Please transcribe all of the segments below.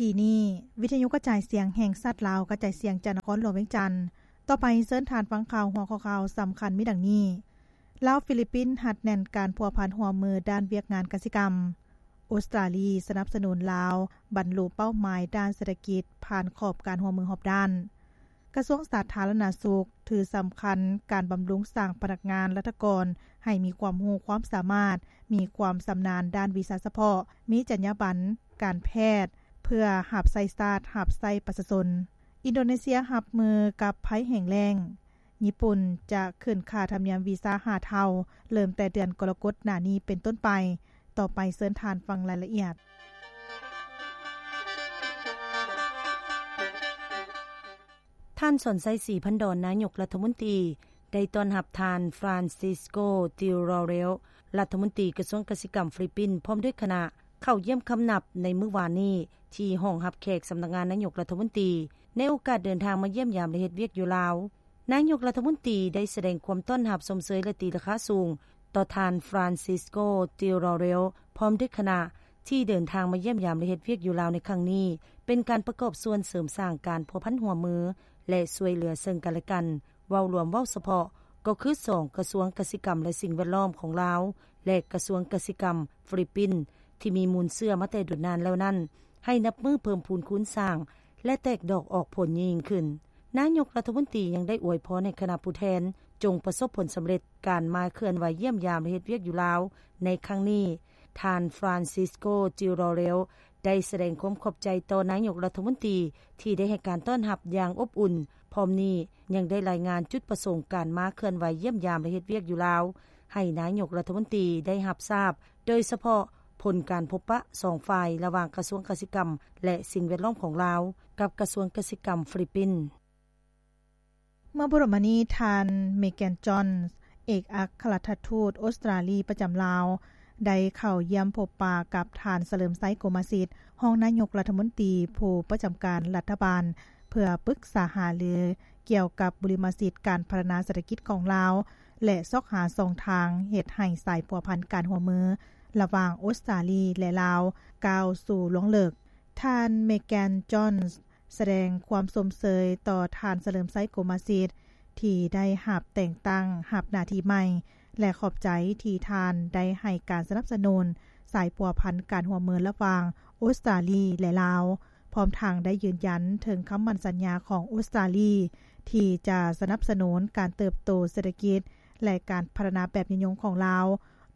ທີ່ນີ້ ວິທະຍຸກະຈາຍສຽງແຫ່ງຊາດລາວ ກະຈາຍສຽງຈາກນະຄອນຫຼວງວຽງຈັນ. ຕໍ່ໄປເຊີນທ່ານຟັງຂ່າວ ຫົວຂໍ້ຂ່າວສຳຄັນມີດັ່ງນີ້: ລາວ-ຟີລິບປິນ ຮັດແໜ້ນການພົວພັນຮ່ວມມືດ້ານວຽກງານກະສິກຳ. ອົດສະຕາລີສະໜັບສະໜູນລາວບັນລຸເປົ້າໝາຍດ້ານເສດຖະກິດ ຜ່ານຂອບການຮ່ວມມືຮອບດ້ານ. ກະຊວງສາທາລະນະສຸກຖືສຳຄັນການບຳລຸງສ້າງພະນັກງານລັດຖະກອນໃຫ້ມີຄວາມຮູ້ຄວາມສາມາດ, ມີຄວາມຊຳນານດ້ານວິຊາສະເພາະ, ມີຈັນຍາບັນການແພດ ເພື່ອຮັບໃຊ້ຊາດ, ຮັບໃຊ້ປະຊາຊົນ. ອິນໂດເນເຊຍຮັບມືກັບໄພແຫ້ງແລ້ງ. ຍີ່ປຸ່ນຈະຂຶ້ນຄ່າທຳນຽມວີຊາຫ້າເທົ່າ, ເລີ່ມແຕ່ເດືອນກໍລະກົດໜ້ານີ້ເປັນຕົ້ນໄປ. ຕໍ່ໄປເຊີນທ່ານຟັງລາຍລະອຽດ. ທ່ານ ສອນໄຊ ສີພັນດອນ ນາຍົກລັດຖະມົນຕີ ໄດ້ຕ້ອນຮັບທ່ານ ຟຣານຊິສໂກ ຕິລາເຣວ ລັດຖະມົນຕີກະຊວງກະສິກຳຟີລິບປິນ ພ້ອມດ້ວຍຄະນະ ເຂົ້າຢ້ຽມຄຳນັບໃນມື້ວານນີ້ ທີ່ຫ້ອງຮັບແຂກສຳນັກງານນາຍົກລັດຖະມົນຕີ ໃນໂອກາດເດີນທາງມາຢ້ຽມຢາມ ແລະ ເຮັດວຽກຢູ່ລາວ. ນາຍົກລັດຖະມົນຕີໄດ້ສະແດງຄວາມຕ້ອນຮັບຊົມເຊີຍ ແລະ ຕີລາຄາສູງຕໍ່ທ່ານ ຟຣານຊິສໂກ ຕິລາເຣວ ພ້ອມດ້ວຍຄະນະ ທີ່ເດີນທາງມາຢ້ຽມຢາມ ແລະ ເຮັດວຽກຢູ່ລາວໃນຄັ້ງນີ້ ເປັນການປະກອບສ່ວນເສີມສ້າງການພົວພັນຮ່ວມມື ແລະ ຊ່ວຍເຫຼືອເຊິ່ງກັນ ແລະ ກັນ. ເວົ້າລວມເວົ້າສະເພາະ ກໍຄືສອງກະຊວງກະສິກຳ ແລະ ສິ່ງແວດລ້ອມຂອງລາວ ແລະ ກະຊວງກະສິກຳຟີລິບປິນ ທີ່ມີມູນເຊື້ອມາແຕ່ດົນນານແລ້ວນັ້ນ ໃຫ້ນັບມື້ເພີ່ມພູນຄູນສ້າງ ແລະ ແຕກດອກອອກຜົນຍິ່ງຂຶ້ນ. ນາຍົກລັດຖະມົນຕີຍັງໄດ້ອວຍພອນໃຫ້ຄະນະຜູ້ແທນ ຈົ່ງປະສົບຜົນສຳເລັດການມາເຄື່ອນໄຫວຢ້ຽມຢາມ ແລະ ເຮັດວຽກຢູ່ລາວໃນຄັ້ງນີ້. ທ່ານ ຟຣານຊິສໂກ ຈິລາເຣວ ໄດ້ສະແດງຄວາມຂອບໃຈຕໍ່ນາຍົກລັດຖະມົນຕີ ທີ່ໄດ້ໃຫ້ການຕ້ອນຮັບຢ່າງອົບອຸ່ນ. ພ້ອມນີ້ຍັງໄດ້ລາຍງານຈຸດປະສົງການມາເຄື່ອນໄຫວຢ້ຽມຢາມ ແລະ ເຮັດວຽກຢູ່ລາວ ໃຫ້ນາຍົກລັດຖະມົນຕີໄດ້ຮັບຊາບ, ໂດຍສະເພາະຜົນການພົບປະສອງຝ່າຍ ລະຫວ່າງກະຊວງກະສິກຳ ແລະ ສິ່ງແວດລ້ອມຂອງລາວ ກັບກະຊວງກະສິກຳຟີລິບປິນ. ເມື່ອບໍ່ດົນມານີ້ ທ່ານ ເມແກນ ຈອນ ເອກອັກຄະລັດຖະທູດອົດສະຕຣາລີປະຈຳລາວ ໄດ້ເຂົ້າຢ້ຽມພົບປະກັບທ່ານ ສະເຫຼີມໄຊ ໂກມາສິດ ຮອງນາຍົກລັດຖະມົນຕີຜູ້ປະຈຳການລັດຖະບານ ເພື່ອປຶກສາຫາລືກ່ຽວກັບບຸລິມະສິດການພັດທະນາເສດຖະກິດຂອງລາວ ແລະ ຊອກຫາຊ່ອງທາງເຮັດໃຫ້ສາຍພົວພັນການຮ່ວມມືລະຫວ່າງອົດສະຕຣາລີ ແລະ ລາວ ກ້າວສູ່ລວງເລິກ. ທ່ານ ເມແກນ ຈອນ ສະແດງຄວາມຊົມເຊີຍຕໍ່ທ່ານ ສະເຫຼີມໄຊ ໂກມາສິດ ທີ່ໄດ້ຮັບແຕ່ງຕັ້ງຮັບໜ້າທີ່ໃໝ່ ແລະ ຂອບໃຈທີ່ທ່ານໄດ້ໃຫ້ການສະໜັບສະໜູນສາຍພົວພັນການຮ່ວມມືລະຫວ່າງອົດສະຕຣາລີ ແລະ ລາວ, ພ້ອມທັງໄດ້ຢືນຢັນເຖິງຄຳໝັ້ນສັນຍາຂອງອົດສະຕຣາລີ ທີ່ຈະສະໜັບສະໜູນການເຕີບໂຕເສດຖະກິດ ແລະ ການພັດທະນາແບບຍືນຍົງຂອງລາວ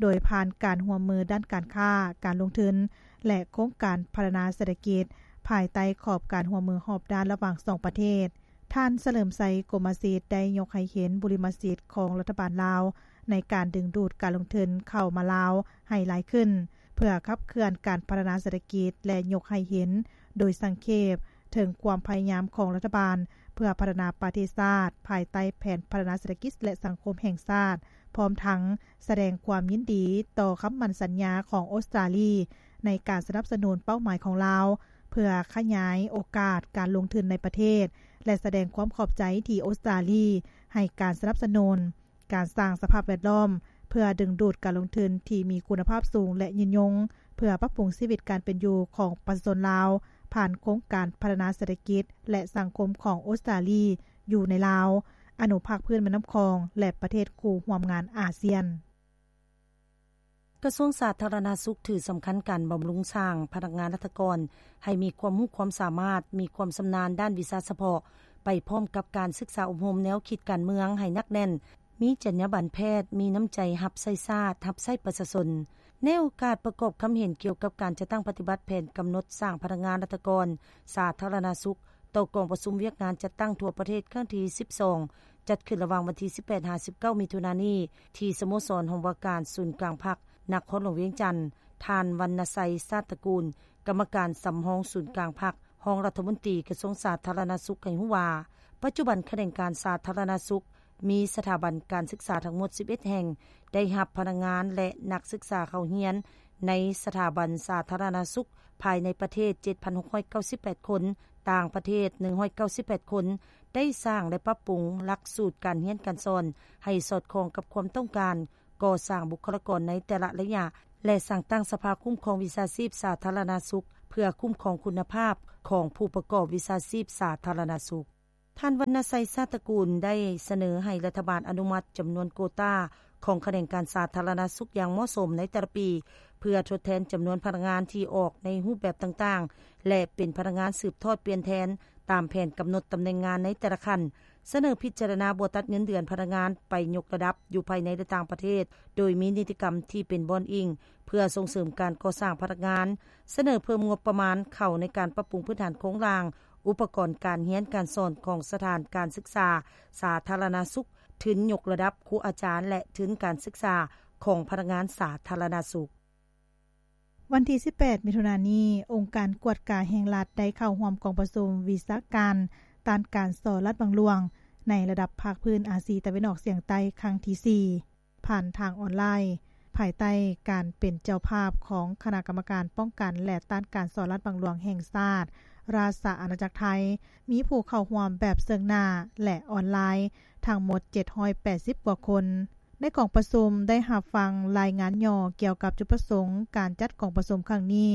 ໂດຍຜ່ານການຮ່ວມມືດ້ານການຄ້າ, ການລົງທຶນ ແລະ ໂຄງການພັດທະນາເສດຖະກິດ ພາຍໃຕ້ຂອບການຮ່ວມມືຮອບດ້ານລະຫວ່າງສອງປະເທດ. ທ່ານ ສະເຫຼີມໄຊ ໂກມາສິດ ໄດ້ຍົກໃຫ້ເຫັນບຸລິມະສິດຂອງລັດຖະບານລາວ ໃນການດຶງດູດການລົງທຶນເຂົ້າມາລາວໃຫ້ຫຼາຍຂຶ້ນ ເພື່ອຂັບເຄື່ອນການພັດທະນາເສດຖະກິດ ແລະ ຍົກໃຫ້ເຫັນໂດຍສັງເຂບເຖິງຄວາມພະຍາຍາມຂອງລັດຖະບານ ເພື່ອພັດທະນາປະເທດຊາດ ພາຍໃຕ້ແຜນພັດທະນາເສດຖະກິດ ແລະ ສັງຄົມແຫ່ງຊາດ, ພ້ອມທັງສະແດງຄວາມຍິນດີຕໍ່ຄຳໝັ້ນສັນຍາຂອງອົດສະຕຣາລີ ໃນການສະໜັບສະໜູນເປົ້າໝາຍຂອງລາວ ເພື່ອຂະຫຍາຍໂອກາດການລົງທຶນໃນປະເທດ ແລະ ສະແດງຄວາມຂອບໃຈທີ່ອົດສະຕຣາລີໃຫ້ການສະໜັບສະໜູນ ການສ້າງສະພາບແວດລ້ອມເພື່ອດຶງດູດການລົງທຶນທີ່ມີຄຸນນະພາບສູງ ແລະ ຍືນຍົງ ເພື່ອປັບປຸງຊີວິດການເປັນຢູ່ຂອງປະຊາຊົນລາວ ຜ່ານໂຄງການພັດທະນາເສດຖະກິດ ແລະ ສັງຄົມຂອງອົດສະຕຣາລີຢູ່ໃນລາວ, ອະນຸພາກພື້ນແມ່ນ້ຳຂອງ ແລະ ປະເທດຄູ່ຮ່ວມງານອາຊຽນ. ກະຊວງສາທາລະນະສຸກຖືສຳຄັນການບຳລຸງສ້າງພະນັກງານລັດຖະກອນໃຫ້ມີຄວາມຮູ້ຄວາມສາມາດ, ມີຄວາມຊຳນານດ້ານວິຊາສະເພາະ, ໄປພ້ອມກັບການສຶກສາອົບຮົມແນວຄິດການເມືອງໃຫ້ໜັກແໜ້ນ, ມີຈັນຍາບັນແພດ, ມີນ້ຳໃຈຮັບໃຊ້ຊາດ, ຮັບໃຊ້ປະຊາຊົນ. ໃນໂອກາດປະກອບຄຳເຫັນກ່ຽວກັບການຈັດຕັ້ງປະຕິບັດແຜນກຳນົດສ້າງພະນັກງານລັດຖະກອນສາທາລະນະສຸກ ຕໍ່ກອງປະຊຸມວຽກງານຈັດຕັ້ງທົ່ວປະເທດຄັ້ງທີສິບສອງ ຈັດຂຶ້ນລະຫວ່າງວັນທີສິບແປດ ຫາ ສິບເກົ້າ ມິຖຸນານີ້ ທີ່ສະໂມສອນຫ້ອງວ່າການສູນກາງພັກ ນະຄອນຫຼວງວຽງຈັນ, ທ່ານ ວັນນະໄຊ ຊາດຕະກູນ ກຳມະການສຳຮອງສູນກາງພັກ, ຮອງລັດຖະມົນຕີກະຊວງສາທາລະນະສຸກ ໃຫ້ຮູ້ວ່າ ປັດຈຸບັນຂະແໜງການສາທາລະນະສຸກ ມີສະຖາບັນການສຶກສາທັງໝົດສິບເອັດແຫ່ງ ໄດ້ຮັບພະນັກງານ ແລະ ນັກສຶກສາເຂົ້າຮຽນໃນສະຖາບັນສາທາລະນະສຸກ ພາຍໃນປະເທດ ເຈັດພັນຫົກຮ້ອຍເກົ້າສິບແປດຄົນ, ຕ່າງປະເທດ ໜຶ່ງຮ້ອຍເກົ້າສິບແປດຄົນ, ໄດ້ສ້າງ ແລະ ປັບປຸງຫຼັກສູດການຮຽນການສອນໃຫ້ສອດຄ່ອງກັບຄວາມຕ້ອງການ ກໍ່ສ້າງບຸກຄະລາກອນໃນແຕ່ລະໄລຍະ ແລະ ສ້າງຕັ້ງສະພາຄຸ້ມຄອງວິຊາຊີບສາທາລະນະສຸກ ເພື່ອຄຸ້ມຄອງຄຸນນະພາບຂອງຜູ້ປະກອບວິຊາຊີບສາທາລະນະສຸກ. ທ່ານ ວັນນະໄຊ ຊາດຕະກູນ ໄດ້ສະເໜີໃຫ້ລັດຖະບານອະນຸມັດຈຳນວນໂກຕາຂອງຂະແໜງການສາທາລະນະສຸກຢ່າງເໝາະສົມໃນແຕ່ລະປີ ເພື່ອທົດແທນຈຳນວນພະນັກງານທີ່ອອກໃນຮູບແບບຕ່າງໆ ແລະ ເປັນພະນັກງານສືບທອດປ່ຽນແທນຕາມແຜນກຳນົດຕຳແໜ່ງງານໃນແຕ່ລະຂັ້ນ, ສະເໜີພິຈາລະນາບໍ່ຕັດເງິນເດືອນພະນັກງານໄປຍົກລະດັບຢູ່ພາຍໃນ ແລະ ຕ່າງປະເທດ ໂດຍມີນິຕິກຳທີ່ເປັນບ່ອນອີງເພື່ອສົ່ງເສີມການກໍ່ສ້າງພະນັກງານ, ສະເໜີເພີ່ມງົບປະມານເຂົ້າໃນການປັບປຸງພື້ນຖານໂຄງລ່າງ ອຸປະກອນການຮຽນການສອນຂອງສະຖານການສຶກສາສາທາລະນະສຸກ, ທຶນຍົກລະດັບຄູອາຈານ ແລະ ທຶນການສຶກສາຂອງພະນັກງານສາທາລະນະສຸກ. ວັນທີສິບແປດ ມິຖຸນານີ້, ອົງການກວດກາແຫ່ງລັດໄດ້ເຂົ້າຮ່ວມກອງປະຊຸມວິຊາການຕ້ານການສໍ້ລາດບັງຫຼວງ ໃນລະດັບພາກພື້ນອາຊີຕາເວັນອອກສຽງໃຕ້ຄັ້ງທີສີ່ ຜ່ານທາງອອນລາຍ, ພາຍໃຕ້ການເປັນເຈົ້າພາບຂອງຄະນະກຳມະການປ້ອງກັນ ແລະ ຕ້ານການສໍ້ລາດບັງຫຼວງແຫ່ງຊາດ ລາຊະອານາຈັກໄທ, ມີຜູ້ເຂົ້າຮ່ວມແບບເຊິ່ງໜ້າ ແລະ ອອນລາຍ ທັງໝົດ ເຈັດຮ້ອຍແປດສິບກວ່າຄົນ. ໃນກອງປະຊຸມໄດ້ຮັບຟັງລາຍງານຫຍໍ້ກ່ຽວກັບຈຸດປະສົງການຈັດກອງປະຊຸມຄັ້ງນີ້,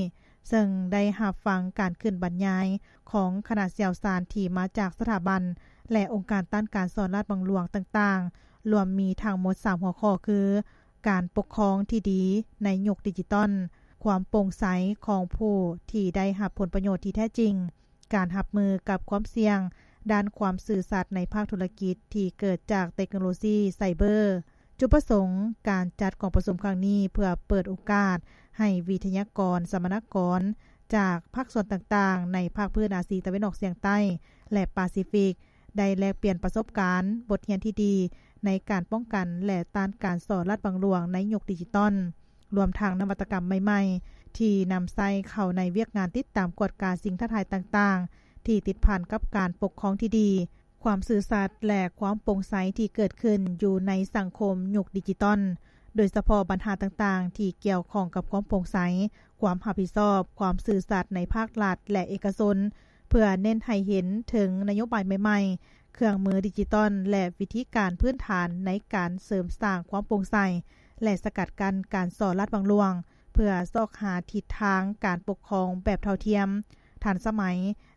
ເຊິ່ງໄດ້ຮັບຟັງການຂຶ້ນບັນຍາຍຂອງຄະນະຊ່ຽວຊານທີ່ມາຈາກສະຖາບັນ ແລະ ອົງການຕ້ານການສໍ້ລາດບັງຫຼວງຕ່າງໆ, ລວມມີທັງໝົດສາມຫົວຂໍ້ຄື ການປົກຄອງທີ່ດີໃນຍຸກດິຈິຕອນ, ຄວາມໂປ່ງໃສຂອງຜູ້ທີ່ໄດ້ຮັບຜົນປະໂຫຍດທີ່ແທ້ຈິງ, ການຮັບມືກັບຄວາມສ່ຽງດ້ານຄວາມຊື່ສັດໃນພາກທຸລະກິດທີ່ເກີດຈາກເຕັກໂນໂລຊີໄຊເບີ. ຈຸດປະສົງການຈັດກອງປະຊຸມຄັ້ງນີ້ ເພື່ອເປີດໂອກາດໃຫ້ວິທະຍາກອນ, ສຳມະນາກອນຈາກພາກສ່ວນຕ່າງໆໃນພາກພື້ນອາຊີຕາເວັນອອກສຽງໃຕ້ ແລະ ປາຊີຟິກ ໄດ້ແລກປ່ຽນປະສົບການ, ບົດຮຽນທີ່ດີໃນການປ້ອງກັນ ແລະ ຕ້ານການສໍ້ລາດບັງຫຼວງໃນຍຸກດິຈິຕອນ, ລວມທັງນະວັດຕະກຳໃໝ່ໆ ທີ່ນຳໃຊ້ເຂົ້າໃນວຽກງານຕິດຕາມກວດກາສິ່ງທ້າທາຍຕ່າງໆ ທີ່ຕິດພັນກັບການປົກຄອງທີ່ດີ, ຄວາມຊື່ສັດ ແລະ ຄວາມໂປ່ງໃສທີ່ເກີດຂຶ້ນຢູ່ໃນສັງຄົມຍຸກດິຈິຕອນ, ໂດຍສະເພາະບັນຫາຕ່າງໆທີ່ກ່ຽວຂ້ອງກັບຄວາມໂປ່ງໃສ, ຄວາມຮັບຜິດຊອບ, ຄວາມຊື່ສັດໃນພາກລັດ ແລະ ເອກະຊົນ, ເພື່ອເນັ້ນໃຫ້ເຫັນເຖິງນະໂຍບາຍໃໝ່ໆ, ເຄື່ອງມືດິຈິຕອນ ແລະ ວິທີການພື້ນຖານໃນການເສີມສ້າງຄວາມໂປ່ງໃສ ແລະ ສະກັດກັ້ນການສໍ້ລາດບັງຫຼວງ, ເພື່ອຊອກຫາທິດທາງການປົກຄອງແບບເທົ່າທຽມ, ທັນສະໄໝ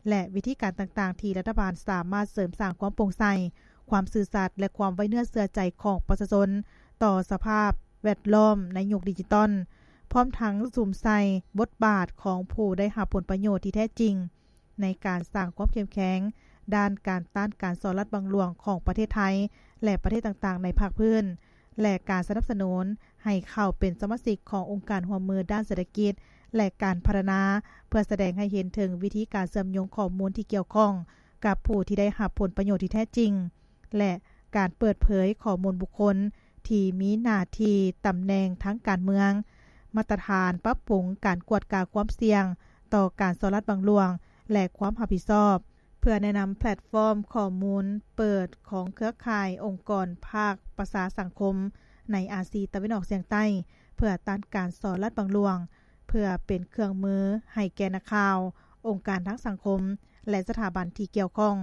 ແລະ ວິທີການຕ່າງໆທີ່ລັດຖະບານສາມາດເສີມສ້າງຄວາມໂປ່ງໃສ, ຄວາມຊື່ສັດ ແລະ ຄວາມໄວ້ເນື້ອເຊື່ອໃຈຂອງປະຊາຊົນຕໍ່ສະພາບແວດລ້ອມໃນຍຸກດິຈິຕອນ, ພ້ອມທັງສຸມໃສ່ບົດບາດຂອງຜູ້ໄດ້ຮັບຜົນປະໂຫຍດທີ່ແທ້ຈິງ ໃນການສ້າງຄວາມເຂັ້ມແຂງດ້ານການຕ້ານການສໍ້ລາດບັງຫຼວງຂອງປະເທດໄທ ແລະ ປະເທດຕ່າງໆໃນພາກພື້ນ ແລະ ການສະໜັບສະໜູນໃຫ້ເຂົ້າເປັນສະມາຊິກຂອງອົງການຮ່ວມມືດ້ານເສດຖະກິດ ແລະ ການພັດທະນາ, ເພື່ອສະແດງໃຫ້ເຫັນເຖິງວິທີການເຊື່ອມໂຍງຂໍ້ມູນທີ່ກ່ຽວຂ້ອງກັບຜູ້ທີ່ໄດ້ຮັບຜົນປະໂຫຍດທີ່ແທ້ຈິງ ແລະ ການເປີດເຜີຍຂໍ້ມູນບຸກຄົນທີ່ມີໜ້າທີ່ຕຳແໜ່ງທາງການເມືອງ, ມາດຕະຖານປັບປຸງການກວດກາຄວາມສ່ຽງຕໍ່ການສໍ້ລາດບັງຫຼວງ ແລະ ຄວາມຮັບຜິດຊອບ, ເພື່ອແນະນຳແພລດຟອມຂໍ້ມູນເປີດຂອງເຄືອຂ່າຍອົງກອນພາກປະຊາສັງຄົມໃນອາຊີຕາເວັນອອກສຽງໃຕ້ ເພື່ອຕ້ານການສໍ້ລາດບັງຫຼວງ, ເພື່ອເປັນເຄື່ອງມືໃຫ້ແກ່ນັກຂ່າວ, ອົງການທາງສັງຄົມ ແລະ ສະຖາບັນທີ່ກ່ຽວຂ້ອງ.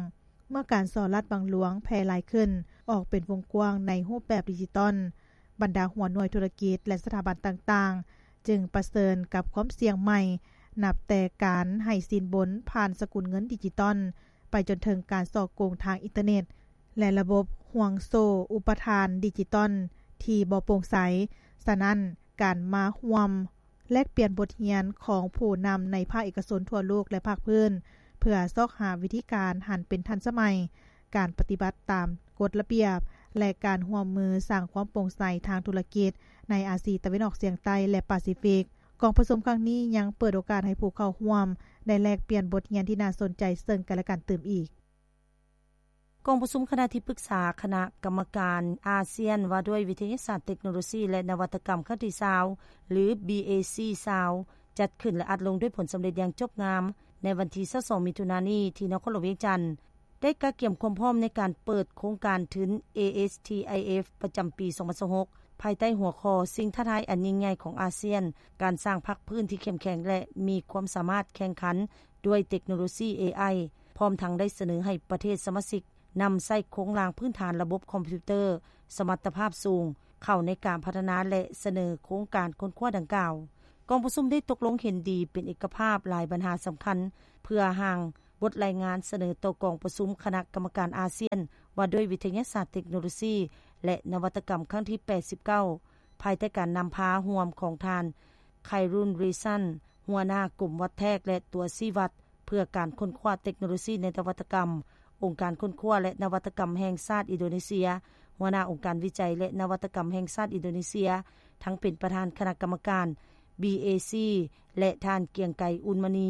ເມື່ອການສໍ້ລາດບັງຫຼວງແຜ່ຫຼາຍຂຶ້ນ, ອອກເປັນວົງກວ້າງໃນຮູບແບບດິຈິຕອນ, ບັນດາຫົວໜ່ວຍທຸລະກິດ ແລະ ສະຖາບັນຕ່າງໆ ຈຶ່ງປະເຊີນກັບຄວາມສ່ຽງໃໝ່, ນັບແຕ່ການໃຫ້ສິນບົນຜ່ານສະກຸນເງິນດິຈິຕອນ, ໄປຈົນເຖິງການສໍ້ໂກງທາງອິນເຕີເນັດ ແລະ ລະບົບຫ່ວງໂສ້ອຸປະທານດິຈິຕອນທີ່ບໍ່ໂປ່ງໃສ. ສະນັ້ນ, ການມາຮ່ວມ ແລກປ່ຽນບົດຮຽນຂອງຜູ້ນຳໃນພາກເອກະຊົນທົ່ວໂລກ ແລະ ພາກພື້ນ ເພື່ອຊອກຫາວິທີການຫັນເປັນທັນສະໄໝ, ການປະຕິບັດຕາມກົດລະບຽບ ແລະ ການຮ່ວມມືສ້າງຄວາມໂປ່ງໃສທາງທຸລະກິດໃນອາຊີຕາເວັນອອກສຽງໃຕ້ ແລະ ປາຊີຟິກ. ກອງປະຊຸມຄັ້ງນີ້ຍັງເປີດໂອກາດໃຫ້ຜູ້ເຂົ້າຮ່ວມໄດ້ແລກປ່ຽນບົດຮຽນທີ່ໜ້າສົນໃຈເຊິ່ງກັນ ແລະ ກັນຕື່ມອີກ. ກອງປະຊຸມຄະນະທີ່ປຶກສາຄະນະກຳມະການອາຊຽນວ່າດ້ວຍວິທະຍາສາດ, ເຕັກໂນໂລຊີ ແລະ ນະວັດຕະກຳຄັ້ງທີຊາວ ຫຼື ບີເອຊີຊາວ ຈັດຂຶ້ນ ແລະ ອັດລົງດ້ວຍຜົນສຳເລັດຢ່າງຈົບງາມໃນວັນທີຊາວສອງ ມິຖຸນານີ້ ທີ່ນະຄອນຫຼວງວຽງຈັນ, ໄດ້ກະກຽມຄວາມພ້ອມໃນການເປີດໂຄງການທຶນ ເອເອັສທີໄອເອັຟ ປະຈຳປີສອງພັນຊາວຫົກ ພາຍໃຕ້ຫົວຂໍ້ ສິ່ງທ້າທາຍອັນຍິ່ງໃຫຍ່ຂອງອາຊຽນ, ການສ້າງພາກພື້ນທີ່ເຂັ້ມແຂງ ແລະ ມີຄວາມສາມາດແຂ່ງຂັນ ດ້ວຍເຕັກໂນໂລຊີ ເອໄອ ພ້ອມທັງໄດ້ສະເໜີໃຫ້ປະເທດສະມາຊິກນຳໃຊ້ໂຄງລ່າງພື້ນຖານລະບົບຄອມພິວເຕີສະມັດຕະພາບສູງ, ເຂົ້າໃນການພັດທະນາ ແລະ ສະເໜີໂຄງການຄົ້ນຄວ້າດັ່ງກ່າວ. ກອງປະຊຸມໄດ້ຕົກລົງເຫັນດີເປັນເອກະພາບຫຼາຍບັນຫາສຳຄັນ ເພື່ອຮ່າງບົດລາຍງານສະເໜີຕໍ່ກອງປະຊຸມຄະນະກຳມະການອາຊຽນ ວ່າດ້ວຍວິທະຍາສາດ, ເຕັກໂນໂລຊີ ແລະ ນະວັດຕະກຳຄັ້ງທີ ແປດສິບເກົ້າ ພາຍໃຕ້ການນຳພາຮ່ວມຂອງທ່ານ ໄຄຣຸນ ຣີຊັນ ຫົວໜ້າກົມວັດແທກ ແລະ ຕົວຊີ້ວັດ ເພື່ອການຄົ້ນຄວ້າເຕັກໂນໂລຊີ ແລະ ນະວັດຕະກຳ, ອົງການຄົ້ນຄວ້າ ແລະ ນະວັດຕະກຳແຫ່ງຊາດອິນໂດເນເຊຍ, ຫົວໜ້າອົງການວິໄຈ ແລະ ນະວັດຕະກຳແຫ່ງຊາດອິນໂດເນເຊຍ, ທັງເປັນປະທານຄະນະກຳມະການ ບີເອຊີ ແລະ ທ່ານ ກຽງໄກ ອຸ່ນມະນີ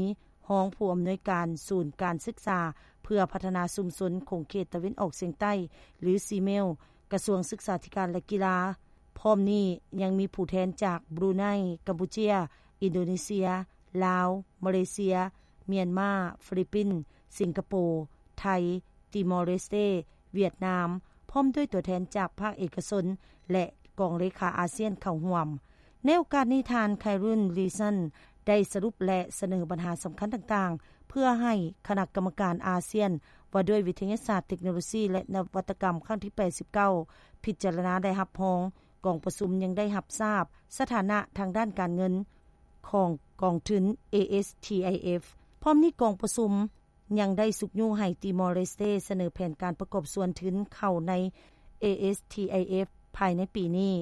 ຮອງຜູ້ອຳນວຍການສູນການສຶກສາເພື່ອພັດທະນາຊຸມຊົນຂົງເຂດຕາເວັນອອກສຽງໃຕ້ ຫຼື ຊີເມວ ກະຊວງສຶກສາທິການ ແລະ ກິລາ. ພ້ອມນີ້ຍັງມີຜູ້ແທນຈາກບຣູໄນ, ກຳປູເຈຍ, ອິນໂດເນເຊຍ, ລາວ, ມາເລເຊຍ, ມຽນມາ, ຟີລິບປິນ, ສິງກະໂປ, ໄທ, ຕີມໍເລສເຕ, ຫວຽດນາມ, ພ້ອມດ້ວຍຕົວແທນຈາກພາກເອກະຊົນ ແລະ ກອງເລຂາອາຊຽນເຂົ້າຮ່ວມ. ໃນໂອກາດນີ້, ທ່ານ ໄຄຣຸນ ຣີຊັນ ໄດ້ສະຫຼຸບ ແລະ ສະເໜີບັນຫາສຳຄັນຕ່າງໆ ເພື່ອໃຫ້ຄະນະກຳມະການອາຊຽນ ວ່າດ້ວຍວິທະຍາສາດ, ເຕັກໂນໂລຊີ ແລະ ນະວັດຕະກຳຄັ້ງທີ ແປດສິບເກົ້າ ພິຈາລະນາ ແລະ ຮັບຮອງ. ກອງປະຊຸມຍັງໄດ້ຮັບຊາບສະຖານະທາງດ້ານການເງິນຂອງກອງທຶນ ເອເອສທີໄອເອັຟ. ພ້ອມນີ້, ກອງປະຊຸມຍັງໄດ້ຊຸກຍູ້ໃຫ້ຕີມໍເລສເຕສະເໜີແຜນການປະກອບສ່ວນທຶນເຂົ້າໃນ ເອເອສທີໄອເອັຟ ພາຍໃນປີນີ້.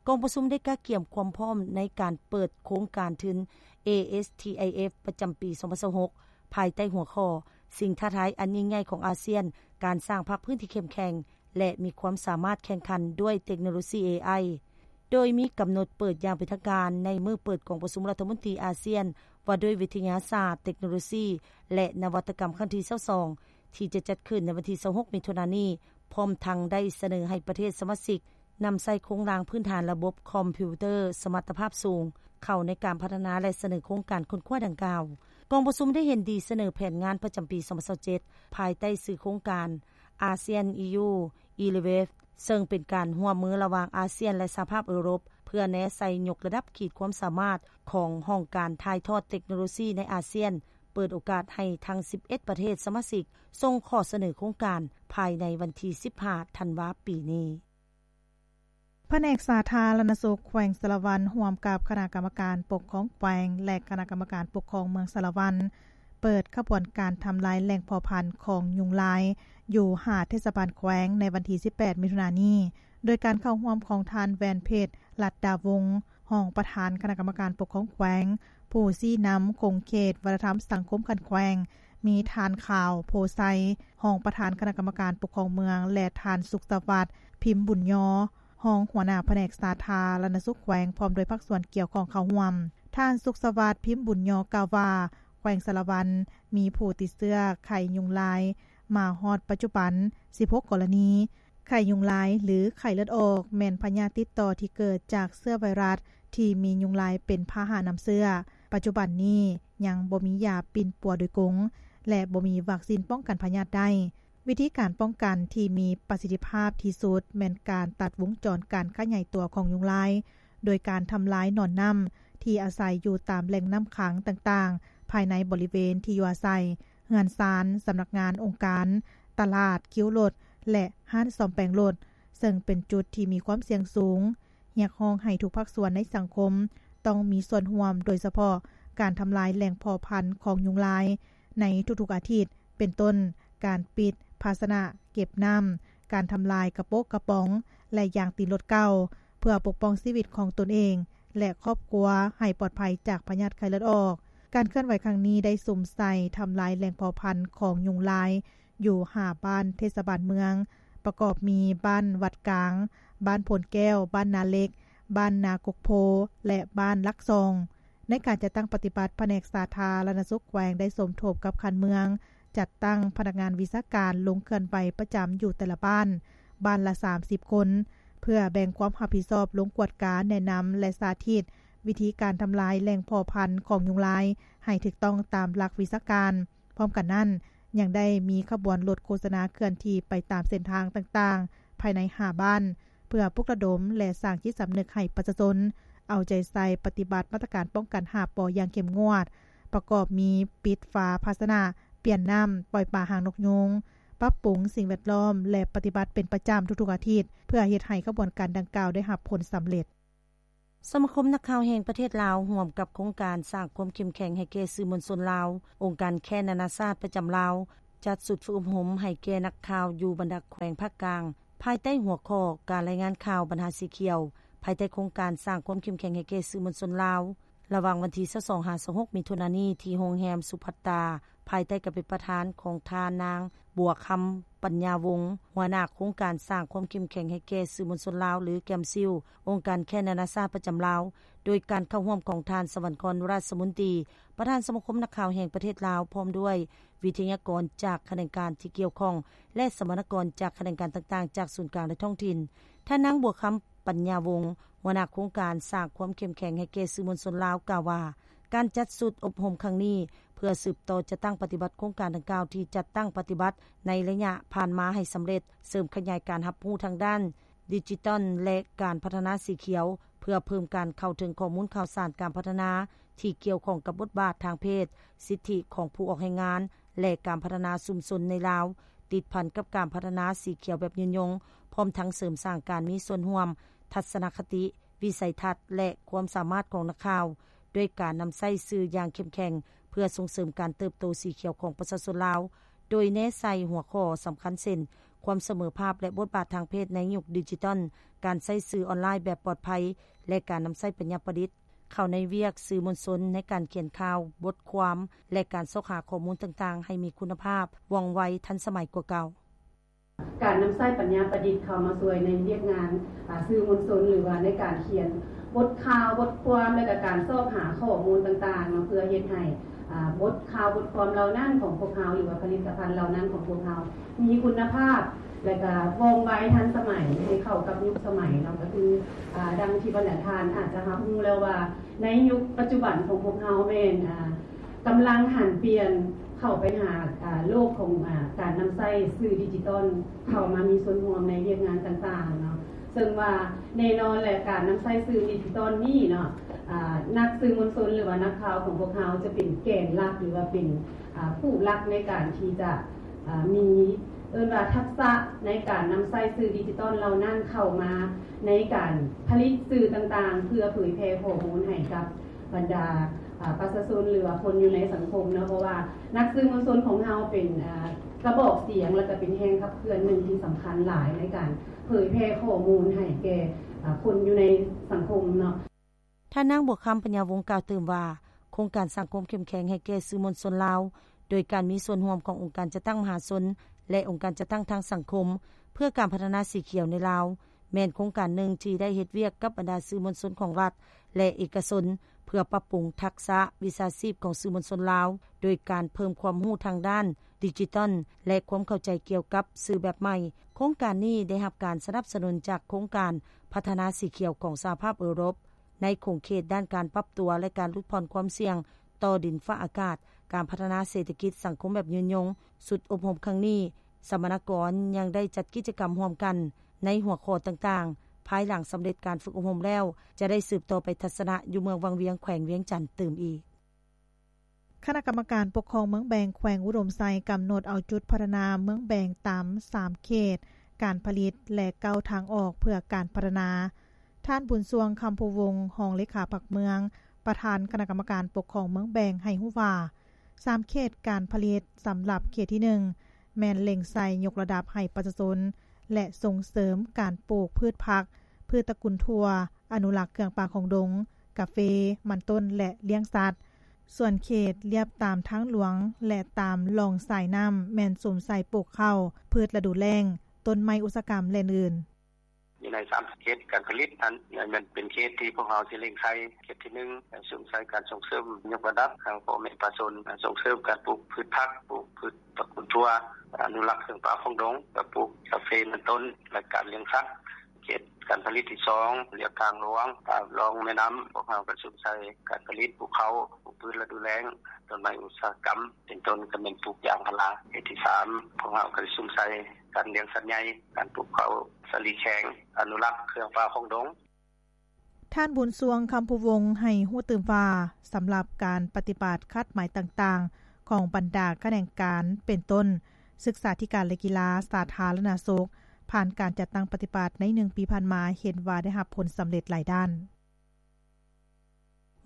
ກອງປະຊຸມໄດ້ກະກຽມຄວາມພ້ອມໃນການເປີດໂຄງການທຶນ ເອເອສທີໄອເອັຟ ປະຈຳປີ ສອງພັນຊາວຫົກ ພາຍໃຕ້ຫົວຂໍ້ ສິ່ງທ້າທາຍອັນຍິ່ງໃຫຍ່ຂອງອາຊຽນ, ການສ້າງພາກພື້ນທີ່ເຂັ້ມແຂງ ແລະ ມີຄວາມສາມາດແຂ່ງຂັນດ້ວຍເຕັກໂນໂລຊີ ເອໄອ ໂດຍມີກຳນົດເປີດຢ່າງເປັນທາງການໃນມື້ເປີດກອງປະຊຸມລັດຖະມົນຕີອາຊຽນ ວ່າດ້ວຍວິທະຍາສາດ, ເຕັກໂນໂລຊີ ແລະ ນະວັດຕະກຳຄັ້ງທີ ຊາວສອງ ທີ່ຈະຈັດຂຶ້ນໃນວັນທີ ຊາວຫົກ ມິຖຸນານີ້, ພ້ອມທັງໄດ້ສະເໜີໃຫ້ປະເທດສະມາຊິກ ນຳໃຊ້ໂຄງລ່າງພື້ນຖານລະບົບຄອມພິວເຕີສະມັດຕະພາບສູງ ເຂົ້າໃນການພັດທະນາ ແລະ ສະເໜີໂຄງການຄົ້ນຄວ້າດັ່ງກ່າວ. ກອງປະຊຸມໄດ້ເຫັນດີສະເໜີແຜນງານປະຈຳປີ ສອງພັນຊາວເຈັດ ພາຍໃຕ້ຊື່ໂຄງການ ASEAN EU Elevate ເຊິ່ງເປັນການຮ່ວມມືລະຫວ່າງອາຊຽນ ແລະ ສະຫະພາບເອີຣົບ ເພື່ອແນໃສ່ຍົກລະດັບຂີດຄວາມສາມາດຂອງຫ້ອງການຖ່າຍທອດເຕັກໂນໂລຊີໃນອາຊຽນ, ເປີດໂອກາດໃຫ້ທັງ ສິບເອັດ ປະເທດສະມາຊິກ ສົ່ງຂໍ້ສະເໜີໂຄງການພາຍໃນວັນທີ ສິບຫ້າ ທັນວາ ປີນີ້. ພະແນກສາທາລະນະສຸກແຂວງສາລະວັນ ຮ່ວມກັບຄະນະກຳມະການປົກຄອງແຂວງ ແລະ ຄະນະກຳມະການປົກຄອງເມືອງສາລະວັນ ເປີດຂະບວນການທຳລາຍແຫຼ່ງເພາະພັນຂອງຍຸງລາຍ ຢູ່ຫ້າເທດສະບານແຂວງ ໃນວັນທີ ສິບແປດ ມິຖຸນານີ້ ໂດຍການເຂົ້າຮ່ວມຂອງທ່ານ ແວນເພັດ ລັດດາວົງ ຮອງປະທານຄະນະກຳມະການປົກຄອງແຂວງ, ຜູ້ຊີ້ນຳຂົງເຂດວັດທະນະທຳສັງຄົມຂັ້ນແຂວງ, ມີທ່ານ ຂາວ ໂພໄຊ ຮອງປະທານຄະນະກຳມະການປົກຄອງເມືອງ ແລະ ທ່ານ ສຸກສະຫວັດ ພິມບຸນຍໍ ຮອງຫົວໜ້າພະແນກສາທາລະນະສຸກແຂວງ ພ້ອມດ້ວຍພາກສ່ວນກ່ຽວຂ້ອງເຂົ້າຮ່ວມ. ທ່ານ ສຸກສະຫວັດ ພິມບຸນຍໍ ກ່າວວ່າ ແຂວງສາລະວັນມີຜູ້ຕິດເຊື້ອໄຂ້ຍຸງລາຍມາຮອດປັດຈຸບັນ ສິບຫົກ ກໍລະນີ. ໄຂ້ຍຸງລາຍ ຫຼື ໄຂ້ເລືອດອອກ ແມ່ນພະຍາດຕິດຕໍ່ທີ່ເກີດຈາກເຊື້ອໄວຣັສທີ່ມີຍຸງລາຍເປັນພາຫະນຳເຊື້ອ. ປັດຈຸບັນນີ້ຍັງບໍ່ມີຢາປິ່ນປົວໂດຍກົງ ແລະ ບໍ່ມີວັກຊີນປ້ອງກັນພະຍາດໄດ້. ວິທີການປ້ອງກັນທີ່ມີປະສິດທິພາບທີ່ສຸດແມ່ນການຕັດວົງຈອນການຂະຫຍາຍຕົວຂອງຍຸງລາຍ ໂດຍການທຳລາຍໜອນນ້ຳທີ່ອາໄສຢູ່ຕາມແຫຼ່ງນ້ຳຂັງຕ່າງໆ ພາຍໃນບໍລິເວນທີ່ຢູ່ອາໄສ, ເຮືອນຊານ, ສຳນັກງານອົງການ, ຕະຫຼາດ, ຄິວລົດ ແລະ ຮ້ານສ້ອມແປງລົດ, ເຊິ່ງເປັນຈຸດທີ່ມີຄວາມສ່ຽງສູງ. ຮຽກຮ້ອງໃຫ້ທຸກພາກສ່ວນໃນສັງຄົມຕ້ອງມີສ່ວນຮ່ວມ, ໂດຍສະເພາະການທຳລາຍແຫຼ່ງເພາະພັນຂອງຍຸງລາຍໃນທຸກໆອາທິດ, ເປັນຕົ້ນ ການປິດພາຊະນະເກັບນ້ຳ, ການທຳລາຍກະໂປະກະປ໋ອງ ແລະ ຢາງຕີນລົດເກົ່າ, ເພື່ອປົກປ້ອງຊີວິດຂອງຕົນເອງ ແລະ ຄອບຄົວໃຫ້ປອດໄພຈາກພະຍາດໄຂ້ເລືອດອອກ. ການເຄື່ອນໄຫວຄັ້ງນີ້ໄດ້ສຸມໃສ່ທຳລາຍແຫຼ່ງເພາະພັນຂອງຍຸງລາຍ ຢູ່ຫ້າບ້ານເທດສະບານເມືອງ ປະກອບມີບ້ານວັດກາງ, ບ້ານໂພນແກ້ວ, ບ້ານນາເຫຼັກ, ບ້ານນາກົກໂພ ແລະ ບ້ານຫຼັກສອງ. ໃນການຈັດຕັ້ງປະຕິບັດ, ພະແນກສາທາລະນະສຸກແຂວງໄດ້ສົມທົບກັບຂັ້ນເມືອງ ຈັດຕັ້ງພະນັກງານວິຊາການລົງເຄື່ອນໄຫວປະຈຳຢູ່ແຕ່ລະບ້ານ, ບ້ານລະສາມສິບຄົນ, ເພື່ອແບ່ງຄວາມຮັບຜິດຊອບລົງກວດກາ, ແນະນຳ ແລະ ສາທິດວິທີການທຳລາຍແຫຼ່ງເພາະພັນຂອງຍຸງລາຍໃຫ້ຖືກຕ້ອງຕາມຫຼັກວິຊາການ. ພ້ອມກັນນັ້ນ, ຍັງໄດ້ມີຂະບວນລົດໂຄສະນາເຄື່ອນທີ່ໄປຕາມເສັ້ນທາງຕ່າງໆ ພາຍໃນຫ້າບ້ານ ເພື່ອປຸກລະດົມ ແລະ ສ້າງຈິດສຳນຶກໃຫ້ປະຊາຊົນເອົາໃຈໃສ່ປະຕິບັດມາດຕະການປ້ອງກັນຫ້າ ປ ຢ່າງເຂັ້ມງວດ, ປະກອບມີ ປິດຝາພາຊະນະ, ປ່ຽນນ້ຳ, ປ່ອຍປາຫາງນົກຍູງ, ປັບປຸງສິ່ງແວດລ້ອມ ແລະ ປະຕິບັດເປັນປະຈຳທຸກໆອາທິດ ເພື່ອເຮັດໃຫ້ຂະບວນການດັ່ງກ່າວໄດ້ຮັບຜົນສຳເລັດ. ສະມາຄົມນັກຂ່າວແຫ່ງປະເທດລາວ ຮ່ວມກັບໂຄງການສ້າງຄວາມເຂັ້ມແຂງໃຫ້ແກ່ສື່ມວນຊົນລາວ, ອົງການແຄນນານາຊາດປະຈຳລາວ ຈັດຊຸດຝຶກອົບຮົມໃຫ້ແກ່ນັກຂ່າວຢູ່ບັນດາແຂວງພາກກາງ ພາຍໃຕ້ຫົວຂໍ້ ການລາຍງານຂ່າວບັນຫາສີຂຽວ ພາຍໃຕ້ໂຄງການສ້າງຄວາມເຂັ້ມແຂງໃຫ້ແກ່ສື່ມວນຊົນລາວ ລະຫວ່າງວັນທີຊາວສອງ ຫາ ຊາວຫົກ ມິຖຸນານີ້ ທີ່ໂຮງແຮມສຸພັດຕາ ພາຍໃຕ້ການເປັນປະທານຂອງທ່ານນາງ ບົວຄຳ ປັນຍາວົງ ຫົວໜ້າໂຄງການສ້າງຄວາມເຂັ້ມແຂງໃຫ້ແກ່ສື່ມວນຊົນລາວ ຫຼື ແກມຊິລ ອົງການແຄນນານາຊາດປະຈຳລາວ, ໂດຍການເຂົ້າຮ່ວມຂອງທ່ານ ສະຫວັນກອນ ຣາຊະມົນຕີ ປະທານສະມາຄົມນັກຂ່າວແຫ່ງປະເທດລາວ ພ້ອມດ້ວຍວິທະຍາກອນຈາກຂະແໜງການທີ່ກ່ຽວຂ້ອງ ແລະ ສຳມະນາກອນຈາກຂະແໜງການຕ່າງໆ ຈາກສູນກາງ ແລະ ທ້ອງຖິ່ນ. ທ່ານນາງ ບົວຄຳ ປັນຍາວົງ ຫົວໜ້າໂຄງການສ້າງຄວາມເຂັ້ມແຂງໃຫ້ແກ່ສື່ມວນຊົນລາວ ກ່າວວ່າ ການຈັດຊຸດອົບຮົມຄັ້ງນີ້ ເພື່ອສືບຕໍ່ຈັດຕັ້ງປະຕິບັດໂຄງການດັ່ງກ່າວທີ່ຈັດຕັ້ງປະຕິບັດໃນໄລຍະຜ່ານມາໃຫ້ສຳເລັດ, ເສີມຂະຫຍາຍການຮັບຮູ້ທາງດ້ານດິຈິຕອນ ແລະ ການພັດທະນາສີຂຽວ ເພື່ອເພີ່ມການເຂົ້າເຖິງຂໍ້ມູນຂ່າວສານການພັດທະນາທີ່ກ່ຽວຂ້ອງກັບບົດບາດທາງເພດ, ສິດທິຂອງຜູ້ອອກແຮງງານ ແລະ ການພັດທະນາຊຸມຊົນໃນລາວ ຕິດພັນກັບການພັດທະນາສີຂຽວແບບຍືນຍົງ, ພ້ອມທັງເສີມສ້າງການມີສ່ວນຮ່ວມ, ທັດສະນະຄະຕິ, ວິໄສທັດ ແລະ ຄວາມສາມາດຂອງນັກຂ່າວ, ດ້ວຍການນຳໃຊ້ສື່ຢ່າງເຂັ້ມແຂງ ເພື່ອສົ່ງເສີມການເຕີບໂຕສີຂຽວຂອງປະຊາຊົນລາວ, ໂດຍແນໃສ່ຫົວຂໍ້ສຳຄັນເຊັ່ນ ຄວາມສະເໝີພາບ ແລະ ບົດບາດທາງເພດໃນຍຸກດິຈິຕອນ, ການໃຊ້ສື່ອອນລາຍແບບປອດໄພ ແລະ ການນຳໃຊ້ປັນຍາປະດິດ ເຂົ້າໃນວຽກສື່ມວນຊົນໃນການຂຽນຂ່າວ, ບົດຄວາມ ແລະ ການຊອກຫາຂໍ້ມູນຕ່າງໆ ໃຫ້ມີຄຸນນະພາບ, ວ່ອງໄວ, ທັນສະໄໝກວ່າເກົ່າ. ການນຳໃຊ້ປັນຍາປະດິດເຂົ້າມາຊ່ວຍໃນວຽກງານ ອາ ສື່ມວນຊົນ ຫຼືວ່າໃນການຂຽນບົດຂ່າວ, ບົດຄວາມ ແລະ ກະການຊອກຫາຂໍ້ມູນຕ່າງໆເນາະ ເພື່ອເຮັດໃຫ້ ອາ ບົດຂ່າວ, ບົດຄວາມເຫຼົ່ານັ້ນຂອງພວກເຮົາ ຫຼືວ່າຜະລິດຕະພັນເຫຼົ່ານັ້ນຂອງພວກເຮົາ ມີຄຸນນະພາບ ແລະກະວ່ອງໄວທັນສະໄໝ ໃຫ້ເຂົ້າກັບຍຸກສະໄໝເນາະ ກໍຄື ອາ ດັ່ງທີ່ບັນດາທ່ານອາດຈະຮັບຮູ້ແລ້ວວ່າ ໃນຍຸກປັດຈຸບັນຂອງພວກເຮົາແມ່ນ ອາ ກຳລັງຫັນປ່ຽນເຂົ້າໄປຫາ ອາ ໂລກຂອງ ອາ ການນຳໃຊ້ສື່ດິຈິຕອນ ເຂົ້າມາມີສ່ວນຮ່ວມໃນວຽກງານຕ່າງໆເນາະ ເຊິ່ງວ່າແນ່ນອນແຫຼະ ການນຳໃຊ້ສື່ດິຈິຕອນນີ້ເນາະ ອາ ນັກສື່ມວນຊົນ ຫຼືວ່ານັກຂ່າວຂອງພວກເຮົາຈະເປັນແກນຫຼັກ ຫຼືວ່າເປັນ ອາ ຜູ້ຫຼັກໃນການທີ່ຈະ ອາ ມີ ເອີ້ນວ່າທັກສະໃນການນຳໃຊ້ສື່ດິຈິຕອນເຫຼົ່ານັ້ນເຂົ້າມາໃນການຜະລິດສື່ຕ່າງໆ ເພື່ອເຜີຍແຜ່ຂໍ້ມູນໃຫ້ກັບບັນດາ ອາ ປະຊາຊົນ ຫຼືວ່າຄົນຢູ່ໃນສັງຄົມເນາະ ເພາະວ່ານັກສື່ມວນຊົນຂອງເຮົາເປັນ ອາ ກະບອກສຽງ ແລະກະເປັນແຮງຂັບເຄື່ອນໜຶ່ງທີ່ສຳຄັນຫຼາຍໃນການເຜີຍແຜ່ຂໍ້ມູນໃຫ້ແກ່ ອາ ຄົນຢູ່ໃນສັງຄົມເນາະ. ທ່ານນາງ ບົວຄຳ ປັນຍາວົງ ກ່າວຕື່ມວ່າ ໂຄງການສ້າງຄວາມເຂັ້ມແຂງໃຫ້ແກ່ສື່ມວນຊົນລາວ ໂດຍການມີສ່ວນຮ່ວມຂອງອົງການຈັດຕັ້ງມະຫາຊົນ ແລະ ອົງການຈັດຕັ້ງທາງສັງຄົມ ເພື່ອການພັດທະນາສີຂຽວໃນລາວ ແມ່ນໂຄງການໜຶ່ງທີ່ໄດ້ເຮັດວຽກກັບບັນດາສື່ມວນຊົນຂອງລັດ ແລະ ເອກະຊົນ ເພື່ອປັບປຸງທັກສະວິຊາຊີບຂອງສື່ມວນຊົນລາວ ໂດຍການເພີ່ມຄວາມຮູ້ທາງດ້ານດິຈິຕອນ ແລະ ຄວາມເຂົ້າໃຈກ່ຽວກັບສື່ແບບໃໝ່. ໂຄງການນີ້ໄດ້ຮັບການສະໜັບສະໜູນຈາກໂຄງການພັດທະນາສີຂຽວຂອງສະຫະພາບເອີຣົບ ໃນຂົງເຂດດ້ານການປັບຕົວ ແລະ ການຫຼຸດຜ່ອນຄວາມສ່ຽງຕໍ່ດິນຟ້າອາກາດ, ການພັດທະນາເສດຖະກິດສັງຄົມແບບຍືນຍົງ. ຊຸດອົບຮົມຄັ້ງນີ້ ສຳມະນາກອນຍັງໄດ້ຈັດກິດຈະກຳຮ່ວມກັນໃນຫົວຂໍ້ຕ່າງໆ. ພາຍຫຼັງສຳເລັດການຝຶກອົບຮົມແລ້ວ, ຈະໄດ້ສືບຕໍ່ໄປທັດສະນະຢູ່ເມືອງວັງວຽງ ແຂວງວຽງຈັນຕື່ມອີກ. ຄະນະກຳມະການປົກຄອງເມືອງແບງ ແຂວງອຸດົມໄຊ ກຳນົດເອົາຈຸດພັດທະນາເມືອງແບງຕາມສາມເຂດການຜະລິດ ແລະ ເກົ້າທາງອອກເພື່ອການພັດທະນາ. ທ່ານ ບຸນຊ່ວງ ຄຳພູວົງ ຮອງເລຂາພັກເມືອງ ປະທານຄະນະກຳມະການປົກຄອງເມືອງແບງ ໃຫ້ຮູ້ວ່າ ສາມເຂດການຜະລິດ ສຳລັບເຂດທີໜຶ່ງ ແມ່ນເລັ່ງໃສ່ຍົກລະດັບໃຫ້ປະຊາຊົນ ແລະ ສົ່ງເສີມການປູກພືດຜັກ, ພືດຕະກຸນຖົ່ວ, ອະນຸລັກເຄື່ອງປ່າຂອງດົງ, ກາເຟ, ມັນຕົ້ນ ແລະ ລ້ຽງສັດ. ສ່ວນເຂດລຽບຕາມທາງຫຼວງ ແລະ ຕາມລ່ອງສາຍນ້ຳ ແມ່ນສຸມໃສ່ປູກເຂົ້າ, ພືດລະດູແລ້ງ, ຕົ້ນໄມ້ອຸດສາຫະກຳ ແລະ ອື່ນໆ. ຢູ່ໃນສາມເຂດການຜະລິດນັ້ນ ແມ່ນເປັນເຂດທີ່ພວກເຮົາຊິເລັ່ງໃສ່. ເຂດທີໜຶ່ງ ສຸມໃສ່ການສົ່ງເສີມຍົກລະດັບໃຫ້ພໍ່ແມ່ປະຊາຊົນ, ສົ່ງເສີມການປູກພືດຜັກ, ປູກພືດຕະກຸນຖົ່ວ, ອະນຸລັກເຄື່ອງປ່າຂອງດົງ, ກະປູກກາເຟ, ມັນຕົ້ນ ແລະ ການລ້ຽງສັດ. ເຂດການຜະລິດທີສອງ ລຽບທາງຫຼວງ, ຕາມລ່ອງແມ່ນ້ຳ, ພວກເຮົາກະສຸມໃສ່ການຜະລິດປູກເຂົ້າ, ປູກພືດລະດູແລ້ງ, ຕົ້ນໄມ້ອຸດສາຫະກຳ ເປັນຕົ້ນ ກະແມ່ນປູກຢາງພາລາ. ເຂດທີສາມ ພວກເຮົາກະໄດ້ສຸມໃສ່ການລ້ຽງສັດໃຫຍ່, ການປູກເຂົ້າສາລີແຂງ, ອະນຸລັກເຄື່ອງປ່າຂອງດົງ. ທ່ານ ບຸນຊ່ວງ ຄຳພູວົງ ໃຫ້ຮູ້ຕື່ມວ່າ ສຳລັບການປະຕິບັດຄາດໝາຍຕ່າງໆ ຂອງບັນດາຂະແໜງການ ເປັນຕົ້ນ ສຶກສາທິການ ແລະ ກິລາ ສາທາລະນະສຸກ ຜ່ານການຈັດຕັ້ງປະຕິບັດໃນ ໜຶ່ງປີຜ່ານມາ ເຫັນວ່າໄດ້ຮັບຜົນສຳເລັດຫຼາຍດ້ານ.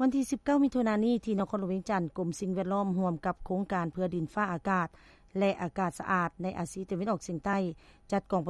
ວັນທີ ສິບເກົ້າ ມິຖຸນາ ນີ້ ທີ່ນະຄອນຫຼວງວຽງຈັນ ກົມສິ່ງແວດລ້ອມ ຮ່ວມກັບໂຄງການເພື່ອດິນຟ້າອາກາດ ແລະ ອາກາດສະອາດ ໃນອາຊີຕາເວັນອອກສຽງໃຕ້ ຈັດກອງ